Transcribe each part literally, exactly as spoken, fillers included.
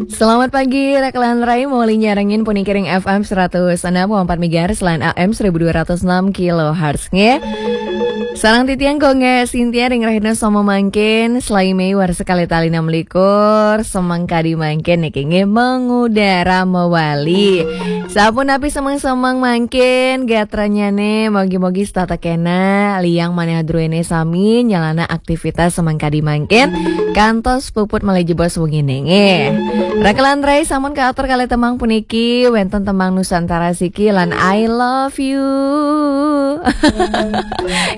Selamat pagi, Rakelan Rai, mawali nyarengin puniki ring F M seratus enam koma empat megahertz lan A M seribu dua ratus enam kilohertz, nggih. Sareng titiang Gung Sintia ring rahina Soma mangkin, selae Mei warsa kalih tali enam likur, semeng kadi mangkin niki nggih mengudara mawali. Sapunapi semeng-semeng mangkin, gatranyane mogi-mogi setata kena, liang manah druene sami, nyalana aktivitas semeng kadi mangkin, kantos puput malih jebos wengine nggih. Rakelan Rai sampun kaatur kalih tembang puniki, wenten tembang Nusantara Siki lan I Love You.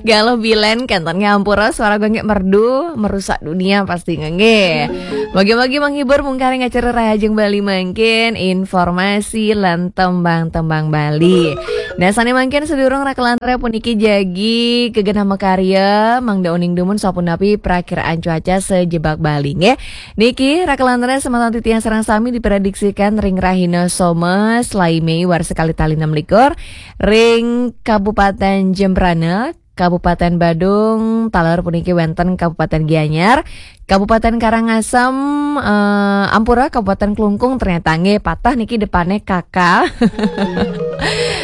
Galuh bilen kenten ngampura suara gonggek merdu, merusak dunia pasti nggih. Mogi-mogi menghibur mungkari acara Rahajeng Bali mangkin, informasi lan tembang-tembang Bali. Nah, sane mangkin sedurung Rakelan Rai puniki jagi kegenah makarya, mangda uning dumun sapunapi prakiraan cuaca sejebak Bali nggih. Niki Rakelan Rai semeton titiang sareng sami diprediksikan ring rahina Soma, selae Mei warsa kalih tali enam likur, ring Kabupaten Jembrana, Kabupaten Badung, taler puniki wenten Kabupaten Gianyar, Kabupaten Karangasem, eh, ampura Kabupaten Klungkung, ternyata nggih patah niki depane K K.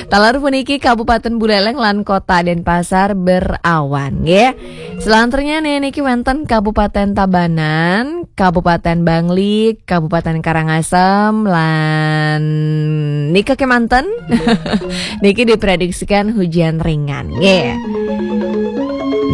Taler puniki Kabupaten Buleleng lan Kota Denpasar berawan nggih. Selanjutnya nih niki wenten Kabupaten Tabanan, Kabupaten Bangli, Kabupaten Karangasem lan nika kemanten. Niki diprediksikan hujan ringan nggih.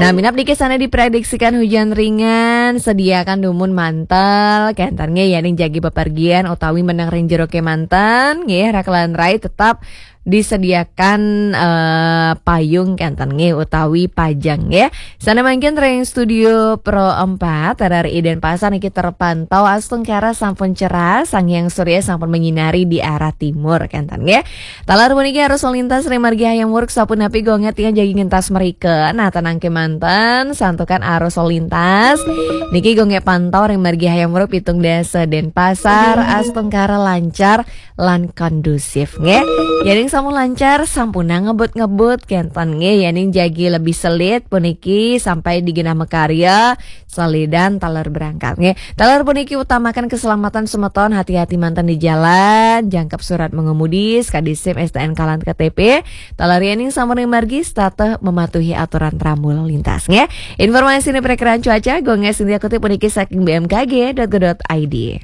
Nah, minab niki sane diprediksikan hujan ringan, sediakan dumun mantel, kenten nggih yening jagi bepergian utawi meneng ring jero kemanten nggih, Rakelan Rai tetap disediakan eh, payung kenten nggih utawi pajeng nggih. Sane mangkin ring studio Pro empat R R I Denpasar niki terpantau astungkara sampun cerah, Sang Hyang Surya sampun menyinari di arah timur kenten nggih. Taler puniki arus lalu lintas ring margi Hayam Wuruk sapunapi gonggek titiang jagi ngentas mrika. Nah, tenang kemanten, santukan arus lalu lintas niki gonggek pantau ring margi Hayam Wuruk pitung dasa Denpasar astungkara lancar lan kondusif nggih. Yening sampun lancar, sampunang ngebut-ngebut kenten nggih. Yening jagi lebih selit puniki sampai di genah makarya, salidan taler berangkat nggih. Taler puniki utamakan keselamatan semeton, hati-hati manten di jalan, jangkep surat mengemudi, sekadi SIM, STNK lan KTP. Taler yening sampun ring margi, setata mematuhi aturan rambu lalu lintas nggih. Informasi ini perkiraan cuaca, Gung Sintia kutip puniki saking B M K G dot go dot I D.